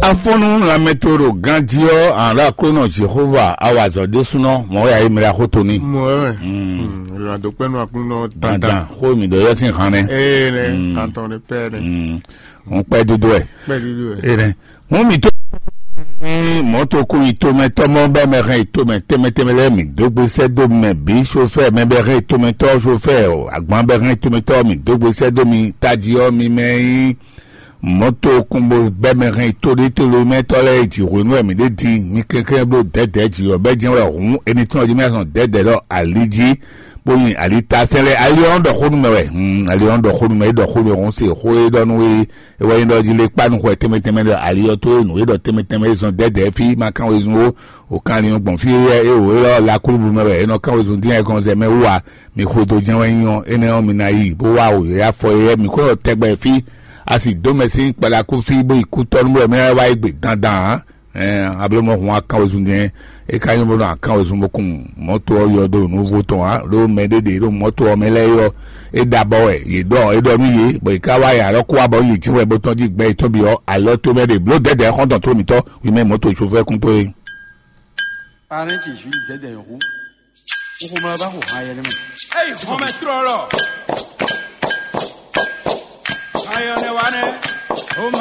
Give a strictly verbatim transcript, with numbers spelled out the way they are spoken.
Afɔnnu lanmɛ to ɖo ganjí ɔ́, àlá Aklúnɔ Jehova awazɔ ɖésúnɔ mɔ̌ wɛ ayé mlá xó to ní. Mɔ̌ wɛ. Mm. Mm, lɔn àdó kpɛ́nú Aklúnɔ dandan. Dandan, xó mi ɖɔ yɔ sín han nɛ. Ee nɛ, Mm. Kantɔn ɖe pɛ́ nɛ. Mm. Òun kpɛ dúdú ɛ. Kpɛ dúdú ɛ. Ee nɛ. Mú mi tó ní mɔ̌tokún yitomɛtɔ́ mɔ bɛ́ mɛ hɛn yitomɛ tɛmɛ tɛmɛ lɛ́ɛ mi dó gbe sɛ́ dó mɛ bǐ sofɛ́ mɛ bɛ́ hɛn yitomɛtɔ́ sofɛ́ agban bɛ́ hɛn yitomɛtɔ́ mi dó gbe sɛ́ dó mi tají ɔ́ mi mɛ nyí mɔ̌tokún bó bɛ́ mɛ hɛn yito ɖé tlóló mɛ tɔ́ lɛ́ɛ jǐ hwenu wɛ mi ɖé din mi kɛnklɛ́n bló dɛ̌dɛ̌ jǐ ɔ́ bɛ́ jɛ́n wɛ hǔn é ní tɔ́n ɔ́ jí mɛ zɔn dɛ̌dɛ̌ ɖɔ ali jí bó nyi ali ta sɛ́n lɛ́ɛ ali ɔ́ ɖɔ xó nú mɛ wɛ. Hmm, ali ɔ́ ɖɔ xó nú mɛ é ɖɔ xó nú mɛ hɔn se xó é ɖɔ nú we é wɛ nyí ɖɔ jí lé kpá nú xwɛ tɛnmɛ tɛnmɛ ɖɔ ali ɔ́ tó é nǔ é ɖɔ tɛnmɛ tɛnmɛ é zɔn dɛ̌dɛ̌ fí ma kán wezun ó. O kan ali ɔ́ gbɔn fí é é wǒ é lɔ lakúlúblu mɛ wɛ é nɔ kán wezun dín ayikɔn zɛ mɛ wú a. Mi xwedó jɛ́n wɛ nyí ɔ́ énɛ́ ɔ́ mi ná yi bó wá wǒ yɔ́yá fɔ é mi xwé ɔ́ tɛgbɛ fí. A sì dó mɛ sín kpaɖakú fí bó yi kú tɔ́ nú bɔ mɛ wá yi gbe dandan ǎ. Ɛɛ ablɔmɔ hun akán wezun jɛn é ka nyɔ́ bó nɔ akán wezun bó kun mɔ̌to ɔ́ yɔ dó nǔvo tɔn ǎ ɖó mɛ ɖé ɖe ɖo mɔ̌to ɔ́ mɛ lɛ́ɛ yɔ é ɖa bɔ wɛ yě ɖɔ é ɖɔ nú yě bɔ yě ká wá yě alɔ kó wá bɔ yě jí wɛ bó tɔn jí gbɛ yětɔn bǐ ɔ́ alɔ tó mɛ ɖe bló dɛdɛ xɔ́ntɔn tó mǐtɔn wí mɛ mɔ̌to sofɛ́ kún tó é. Parɛ́n ce Jules dɛdɛ hu. Xomla va xo han yɛ nɛ mɛ. Eyi xɔmɛ trɔ lɔ. Ayɔ ne wa ne.